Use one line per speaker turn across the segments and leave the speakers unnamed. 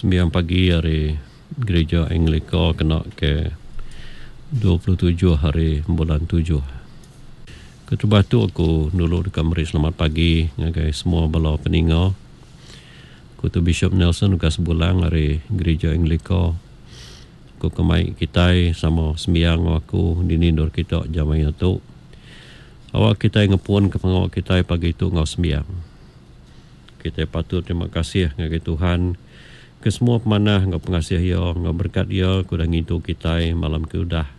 Sembiang pagi ari Gerija Anglika kena ke 27 hari bulan tujuh. Keterubah tu aku dulu deka meri selamat pagi ngagai semua bala peninga. Aku tu Bishop Nelson Ugas Bulang ari Gerija Anglika. Aku ke mai kitai sama sembiang enggau aku dini endur kita jam maya tu. Awak kitai ngepun ke pengawa kitai pagi tu enggau sembiang. Kitai patut terima kasih ngagai Tuhan ke semua pemanah enggau pengasih Iya enggau berekat Iya ke udah ngintu kitai malam ke udah.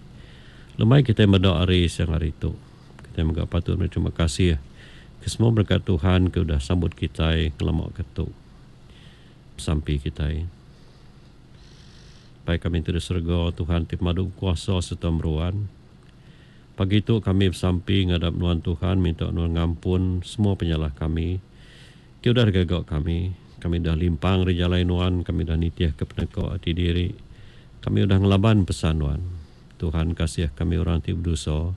Lemai kitai meda hari siang hari tu. Kitai mega patut meri terima kasih ke semua berekat Tuhan ke udah sambut kitai ngelama ke tu. Besampi kitai. Pai kami ti di serega, Tuhan ti pemadu bekuasa sereta meruan. Pagi tu kami besampi ngadap Nuan Tuhan minta Nuan ngampun semua penyalah kami ti udah digaga kami. Kami udah limpang ari jalai Nuan, kami udah nitihka peneka ati diri. Kami udah ngelaban pesan Nuan. Tuhan kasih kami orang ti bedosa.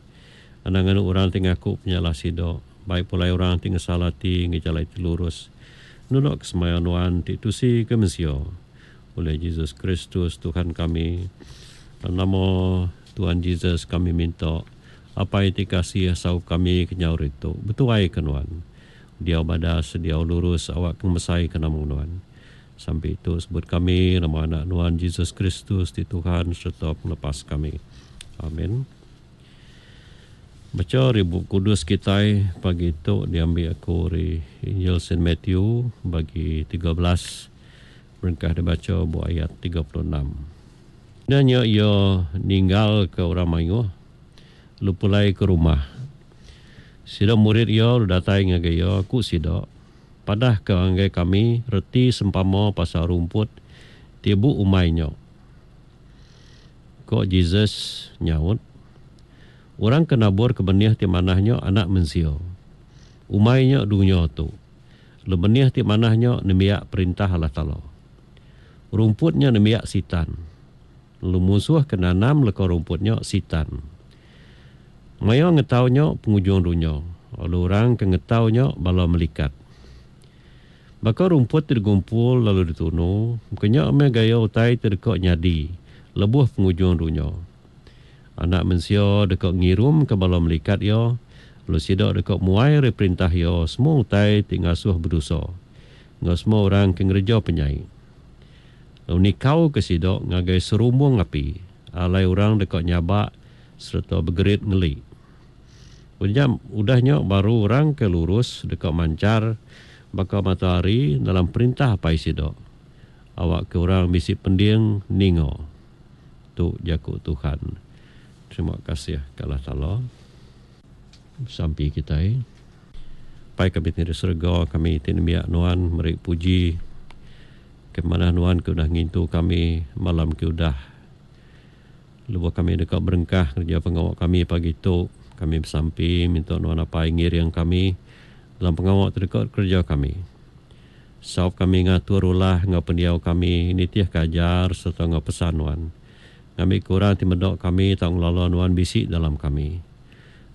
Anang nganu orang ti ngaku penyalah sida, bai pulai orang ti ngesal ati enggau jalai ti lurus nulak ke semaya Nuan ti tusi ke mensia. Ulih Jesus Kristus Tuhan kami. Dalam nama Tuhan Jesus kami minta, Apai ti kasih saup kami kenyau ritu, betuai ke Nuan. Diau badas, diau lurus awak ke ngemesai ke nama Nuan. Sampi tu sebut kami nama Anak Nuan Jesus Kristus ti Tuhan sereta Pengelepas kami. Amin. Bacha ari Bup Kudus kitai pagi tu diambi aku ari Injil Saint Matthew bagi 13 berengkah dibacha ba ayat 36. Udah nya iya ninggalka orang mayuh lalu pulai ke rumah. Sida murid iya lalu datai ngagai iya, ku sida, Padahka ngagai kami reti sempama pasal rumput ti bu umai nya. Ko Jesus nyaut, Orang ke naburka benih ti manah nya Anak Mensia. Umai nya dunya tu. Lalu benih ti manah nya nembiak Perintah Allah Taala. Rumput nya nembiak Sitan. Lalu munsuh ke nanam leka rumput nya Sitan. Maya ngetau nya pengujung dunya, lalu orang ke ngetau nya bala melikat. Baka rumput ti digumpul lalu ditunu, baka nya meh gaya utai ti deka nyadi lebuh pengujung dunya. Anak Mensia deka ngirumka bala melikat iya, lalu sida deka muai ari perintah iya semua utai ti ngasuh bedosa. Enggau semua orang ke ngereja penyai. Lalu nikauka sida ngagai serumbung api, alai orang deka nyabak sereta begerit ngeli. Udah nya, udah nya baru orang ke lurus deka manchar baka mata hari dalam perintah Apai sida. Awakka orang bisi pending ninga. Tu jaku Tuhan. Terima kasih ke Allah Taala. Besampi kitai. Apai kami ti di serega, kami ti nembiak Nuan meri puji ke manah Nuan ke udah ngintu kami malam ke udah. Lebuh kami deka berengkah ngereja pengawa kami pagi tu, kami besampi minta Nuan Apai ngiring kami dalam pengawa ti deka dikereja kami. Saup kami ngatur ulah enggau pendiau kami nitihka ajar sereta enggau pesan Nuan, ngambika orang ti meda kami tau ngelala Nuan bisi dalam kami.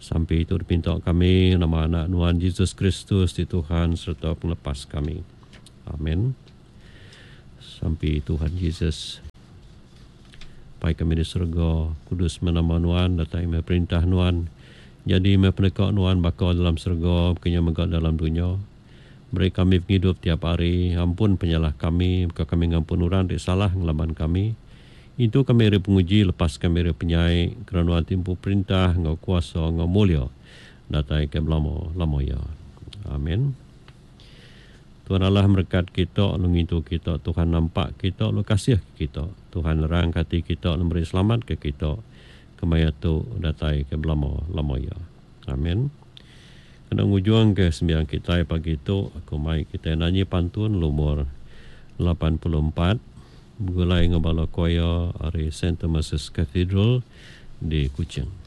Sampi tu dipinta kami nama Anak Nuan Jesus Kristus ti Tuhan sereta Pengelepas kami. Amen. Sampi Tuhan Jesus. Pai kami di serega, kudus meh nama Nuan, datai meh perintah Nuan. Nyadi meh peneka Nuan baka dalam serega, baka nya mega dalam dunya. Beri kami pengidup tiap hari, ampun penyalah kami, baka kami ngampun orang ti salah ngelaban kami. Intu kami ari penguji, lepas kami ari penyai, kena nuan ti empu perintah enggau kuasa enggau mulia datai ke belama lama iya. Amin. Tuhan Allah merekat kita lalu ngintu kita, Tuhan nampak kita lalu kasih ke kita, Tuhan nerang ke ati kita lalu meri selamat ke kita kemaya tu datai ke belama lama iya. Amin. Kena ngujung ke sembiang kitai pagi tu, aku mai kitai nanyi pantun lumur 84 begulai enggau bala choir ari Saint Thomas's Cathedral di Kuching.